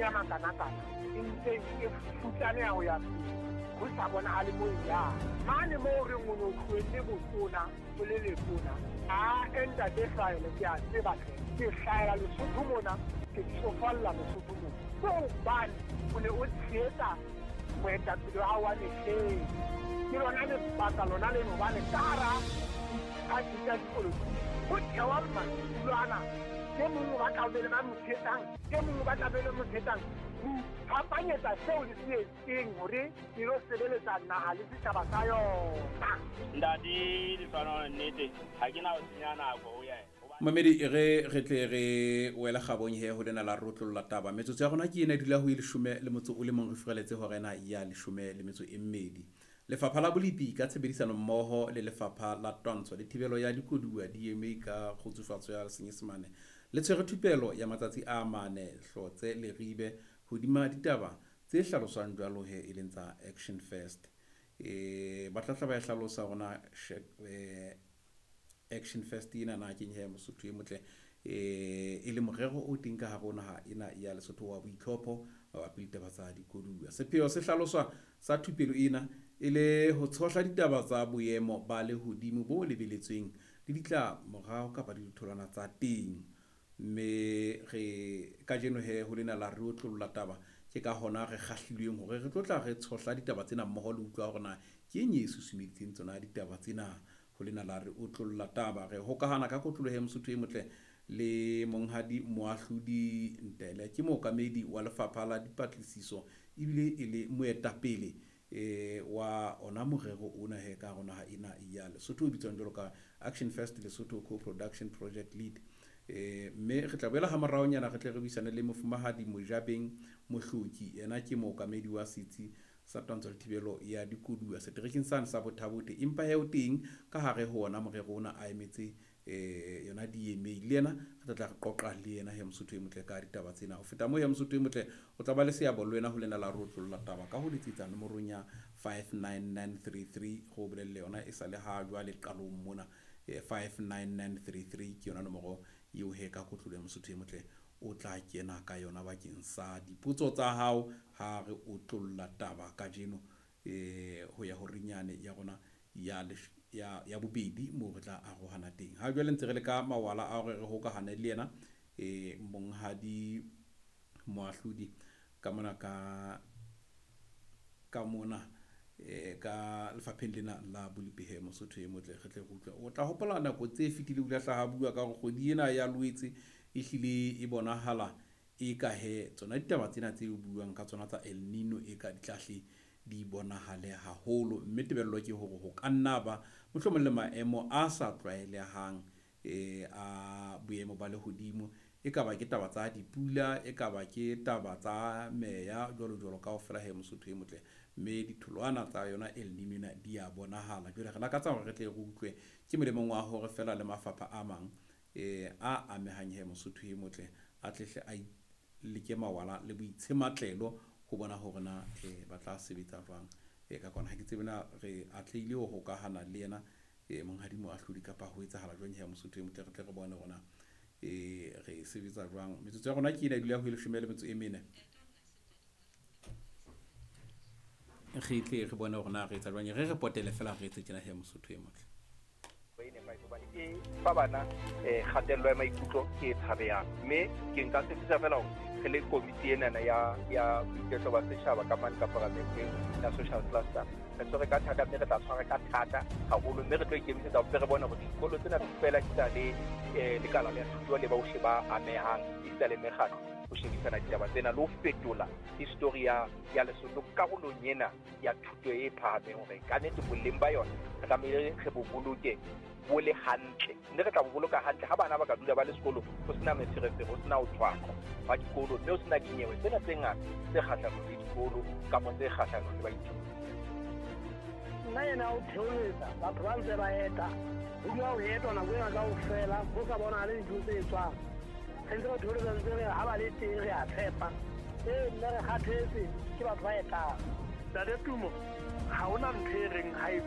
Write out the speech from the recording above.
ya makanakana e ntse e futsaneha ho ya pele, ho sa bonahale mo e yang. Mane moo re o ne o tlohelle botona o le letona, a ntate Hlahele ke a tseba hle, ke hlahela Lesotho mona, ke tsofalla Lesotho mona. Ke hobane o ne o tshehetsa moetapele wa hao wa mehleng. Ke lona lebaka lona leno hobane ka hara diphathi tsa dipolotiki ho thewa madulo ana. E mong o batla ho be le ba mo tshehetsang, e mong o batla be le mo tshehetsang. Ho iphapanyetsa seo le se etseng hore le lo sebeletsa naha le setjhaba sa yona. Ntate Lefano, nnete ha ke na ho senya nako ho yena. Mamedi e re re tle re wele kgabong he ho lena la rotlolla taba. Metsotso ya rona ke ena e dula ho e leshome le motso o le mong re furaletse hora ena ya leshome le metso e mmedi. Lefapha la Bolepi ka tshebedisano mmoho le Lefapha la Twantsho le Thibelo ya Dikoduwa, DMA ka kgutsufatso ya Senyesemane, le tshwere thupelo ya matsatsi a mane Hlotse Leribe hodima ditaba tse hlaloswang jwalo he e leng tsa Action First. E, ba tla tla ba e hlalosa hore na Action First ena na keng he Mosotho e motle, e le morero o teng ka hare ho naha ena ya Lesotho wa boitlhopho mabapi le ditaba tsa dikoduwa. Sepheo se hlaloswa sa thupelo ena e le ho tshohla ditaba tsa boemo ba lehodimo bo lebeletsweng le ditlamorao kapa le ditholwana tsa teng. Mme re kajeno he ho lena la re otlolla taba, ke ka hona re kgahlilweng hore re tlo tla re tshohla ditaba tsena mmoho le utlwa hore na ke eng e susumeditseng tsona ditaba tsena. Ho lena la re otlolla taba, re hokahana ka kotloloho ya Mosotho e motle le Monghadi Moahlodi Ntele, ke mookamedi wa Lefapha la Dipatlisiso ebile e le moetapele wa ona morero ona he ka hare naha ena ya Lesotho o bitswang jwalo ka Action First Lesotho Co-Production Project Lead. Mme re tla boela ha moraonyana re tle re buisane le Mofumahadi Mojabeng Mohloki, yena ke mookamedi wa setsi sa twantsho le thibelo ya dikoduwa seterekeng sane sa Botha-Bothe, empa he o teng ka hare ho ona morero ona a emetse yona DMA. Le yena re tla tla re qoqa le yena he Mosotho e motle ka ditaba tsena. Ho feta moo he Mosotho e motle o tla ba le seabo le wena ho lena la rotlolla taba ka ho letsetsa nomorong ya 59933 go bolelle yona e sa le ha jwale qalong mona. 59933 ke yona nomoro eo he ka kotlolo ya Mosotho e motle o tla kena ka yona bakeng sa dipotso tsa hao ha re otlolla taba kajeno ho ya horinyane ya rona ya ya bobedi moo re tla arohana teng. Ha jwale ntse re le ka mawala a hore re hokahane le yena Monghadi Moahlodi ka mona ka mona ka lefapheng lena la Bolepi Mosotho e motle re tle re utlwe. O tla hopola nako tse fetileng o ile a hlaha bua ka hore kgwedi ena ya Loetse e hlile e bonahala e ka he tsona ditaba tsena tse buang ka tsona tsa El Nino e ka di tlahle di bonahale haholo, mme tebello ke hore ho ka nna ba mohlomong le maemo a sa tlwaelehang a boemo ba lehodimo, e ka ba ke taba tsa dipula, e ka ba ke taba tsa meya jwalo jwalo kaofela he Mosotho e motle, mme ditholwana tsa yona El Nino ena di a bonahala. Jwale re lakatsa hore re tle re utlwe ke molemong wa hore fela le mafapha a mang a amehang he Mosotho e motle a tlehle a leke mawala le boitshematlelo ho bona hore na ba tla sebetsa jwang ka kona. Ha ke tsebe na re atlehile ho hokahana le yena Monghadi Moahlodi kapa ho etsahala jwang he Mosotho e motle, re tle re bone hore na re sebetsa jwang. Metsotso ya rona ke ena e dula ho e leshome le metso e mene, re tle re bone hore na re etsa jwang. Re potele fela re etse tjena he Mosotho e motle. E fa bana kgatello ya maikutlo ke e tshabehang, mme ke nka tshepiša fela hore re le komiti enana ya boiketlo ba setjhaba ka mane ka paramenteng ya social cluster, re tshwere ka thata, mme re tla tshwara ka thata haholo, mme re tlo ikemisetsa hore re bone hore dikolo tsena fela di tla le lekala la thuto le bohle ba amehang, esita le mekgatlo ho shebisana ditaba tsena le ho fetola history ya Lesotho karolong ena ya thuto e phahameng, hore ka nnete boleng ba yona re tlamehile re bo boloke bo le hantle, mme re tla bo boloka hantle ha bana ba ka dula ba le sekolo ho sena meferefere, ho sena ho tshwaqwa ba dikolo, mme ho sena dinyewe tsena tse ngata tse kgahlanong le dikolo kapa tse kgahlanong le baithuti. Nna yena o theoletsa batho ba ntse ba eta, ho dula ho etwa nako ena kaofela, ho sa bonahale dintho tse etswang. Re ntse re theoletsa ntse re ha ba le teng re a tshepa. Nna re kgathetse ke batho ba etang. Ntate Tumo, ha hona ntho e reng ha e